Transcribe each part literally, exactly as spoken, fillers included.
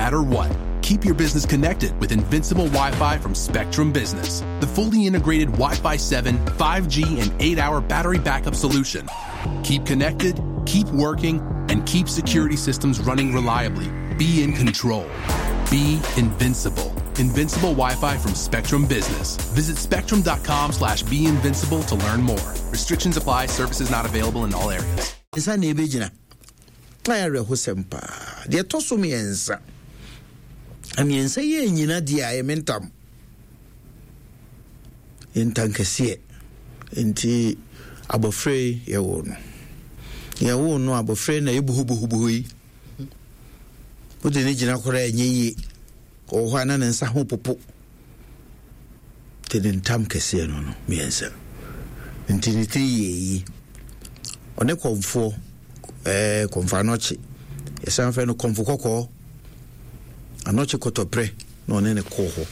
matter what. Keep your business connected with Invincible Wi-Fi from Spectrum Business. The fully integrated Wi-Fi seven, five G, and eight-hour battery backup solution. Keep connected, keep working, and keep security systems running reliably. Be in control. Be invincible. Invincible Wi-Fi from Spectrum Business. Visit spectrum dot com slash be invincible to learn more. Restrictions apply. Services not available in all areas. Nsa na ɛbɛgyina na yɛ awerɛhosɛm paa. Deɛ ɛtɔ so mmiɛnsa, mmiɛnsa yi nyina deɛ a ɛyɛ me ntam ntankɛseɛ. Nti abɔfra yi, yɛwɔ no yɛwo no abɔfra yi na yɛbuhubuhubuhu yi, wode ne gyina koraa, ɛnyɛ yie. Ɔwɔ hɔ a na ne nsa ho popo. Nti ne ntam kɛseɛ no no mmiɛnsa. Nti ne tiri yɛ yi, ɔne kɔmfoɔ ɛɛ kɔmfo Anɔkye, yɛsan frɛ no Kɔmfo Kɔkɔɔ, Anɔkye Kɔtɔprɛ, na ɔne ne kɔɔ hɔ.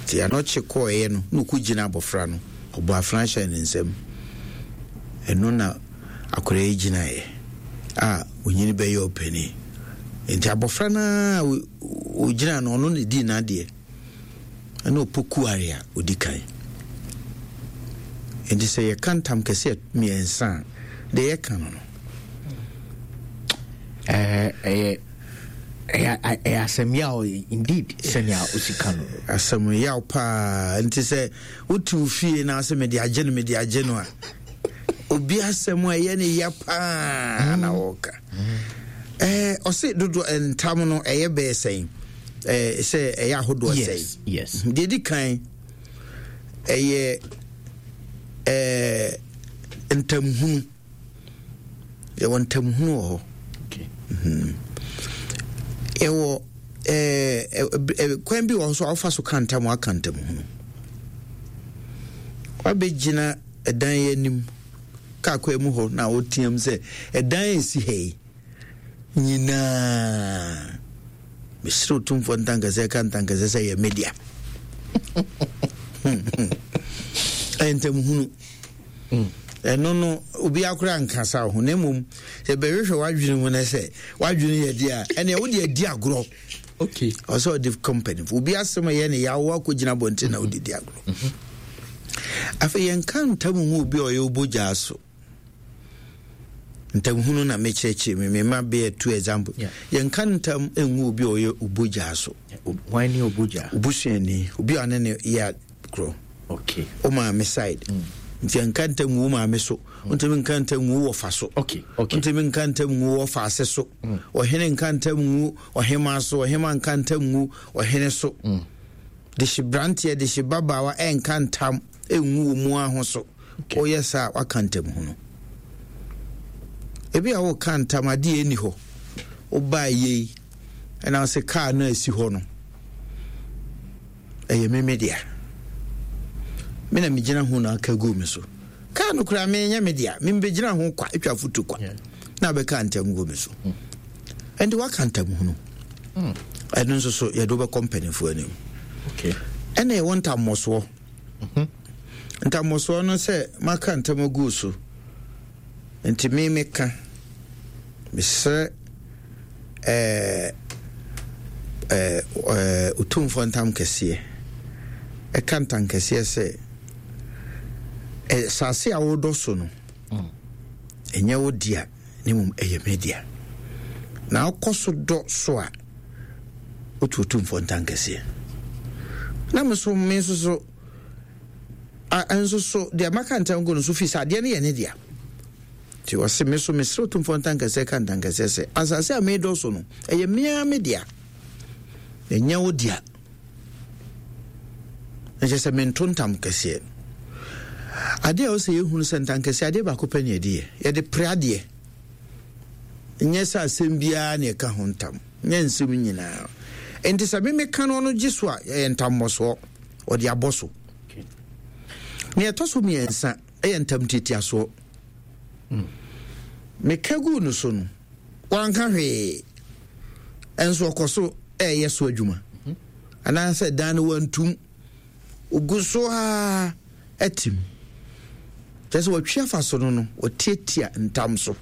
Nti Anɔkye kɔɔeɛ no na ɔkɔ gyina abɔfra no, ɔbɔ afena hyɛ ne nsam. Ɛno na akwadaa yi gyinaeɛ a onyini bɛyɛ ɔpanin. Nti abɔfra no a ɔgyina no, ɔno na dii n'adeɛ, ɛna ɔpokuare a ɔdi kan. Nti sɛ yɛka ntam kɛseɛ mmiɛnsa a, deɛ yɛka no no Ɛyɛ ɛyɛ asɛm yaw indeed, sɛnea osi ka no. Asɛm yaw paa. Nti sɛ wote wo fie na sɛ mede agye no, mede agye no a, obi asɛm a ɛyɛ ne ya paa na wɔka. ɛɛ ɔse dodoɔ ntam no ɛyɛ bɛɛ sɛn, ɛɛ sɛ ɛyɛ ahodoɔ sɛn? Yes. Deɛ di kan ɛyɛ ɛɛ ntamhunu. Yɛwɔ ntamhunu wɔ hɔ. Yɛwɔ ɛɛ kwan bi wɔ hɔ so a wofa so ka ntam, aka ntamhunu. Wabɛgyina ɛdan yi anim kaa kwan mu hɔ na woteam sɛ ɛdan esi ha yi nyinaa, mesrɛ Otumfoɔ ntankɛsɛ ka ntankɛsɛ sɛ yɛ media. Ɛyɛ ntamhunu. Ɛno no, obi akora nkasa ho, na mmom sɛ bɛhwehwɛ w'adwene mu no sɛ w'adwene yɛ deɛ a, ɛneɛ wode adi agorɔ. Okay ɔsɛ ɔde company obi asɛm ɛyɛ ne yawo akɔgyina abɔnten na wode di agorɔ. Afei yɛnka ntam hu obi a ɔyɛ wobɔgyaa so. Ntamhunu na mekyerɛkyerɛ me mema bɛyɛ two example. Yeah. Yɛnka ntam ngu obi a ɔyɛ wobɔgyaa so. Hwan ne obogya? Obusuani, obi a ɔne ne yɛ agorɔ. Okay wo maame side. Nti yɛnka ntam ngu wo maame so, wontumi nka ntam ngu wo wɔfa so. Okay, okay. Wontumi nka ntam ngu wo wɔfa ase so. Ɔhene nka ntam ngu ɔhema so, ɔhema nka ntam ngu ɔhene so. Dehye branteɛ, dehye babaawa ɛnka ntam ɛngu wɔ mu aho so. Woyɛ saa a, waka ntam hunu. Ebi a woka ntam adeɛ ɛni hɔ, wobaa yei ɛna wo sɛ kaa no a ɛsi hɔ no ɛyɛ me me dea, me na megyina ho na aka gu me so. Kaa no koraa menyɛ me dea, membɛgyina ho kwa atwa foto kwa na bɛka ntam gu me so. Ɛnde waka ntam hunu. Ɛno nso so yɛde wobɛkɔ mpanimfoɔ anim. Okay ɛna ɛwɔ ntammɔsoɔ. Ntammɔsoɔ no sɛ maka ntam agu so, nti me meka mesrɛ ɛɛ ɛɛ ɛɛ Otumfoɔ ntam kɛseɛ, ɛka ntam kɛseɛ sɛ ɛ saase a wodɔ so no ɛnyɛ wo dea, ne mmom ɛyɛ me dea, na wokɔ so dɔ so a, wotu Otumfoɔ ntam kɛseɛ. Na me so me nso so a nso so deɛ maka ntam gu no so fi sɛ adeɛ no yɛ ne dea. Nti ɔse me so mesrɛ Otumfoɔ ntankɛseɛ ka ntankɛseɛ sɛ asase a medɔ so no ɛyɛ mea me dea, ɛnyɛ wo dea. Ɛkyɛ sɛ mento ntam kɛseɛ. Adeɛ a ɔsɛ yɛhunu sɛ ntankɛseɛ, adeɛ baako pɛ ne yɛde yɛ, yɛde pere adeɛ. Nyɛ sɛ asɛm biara ne ɛka ho ntam, nyɛ nsɛm nyinaa. Nti sɛ memeka no, ɔno gye so a, yɛyɛ ntammɔsoɔ, ɔde abɔ so. Nea ɛtɔ so mmiɛnsa ɛyɛ ntam tiatiasoɔ. Meka guu no so no, wanka hwee, ɛnso ɔkɔ so ɛyɛ so adwuma, anaasɛ dan no wantum, ogu so a ɛtim, kyerɛ sɛ wɔtwe afa so no no wɔtiatia ntam so.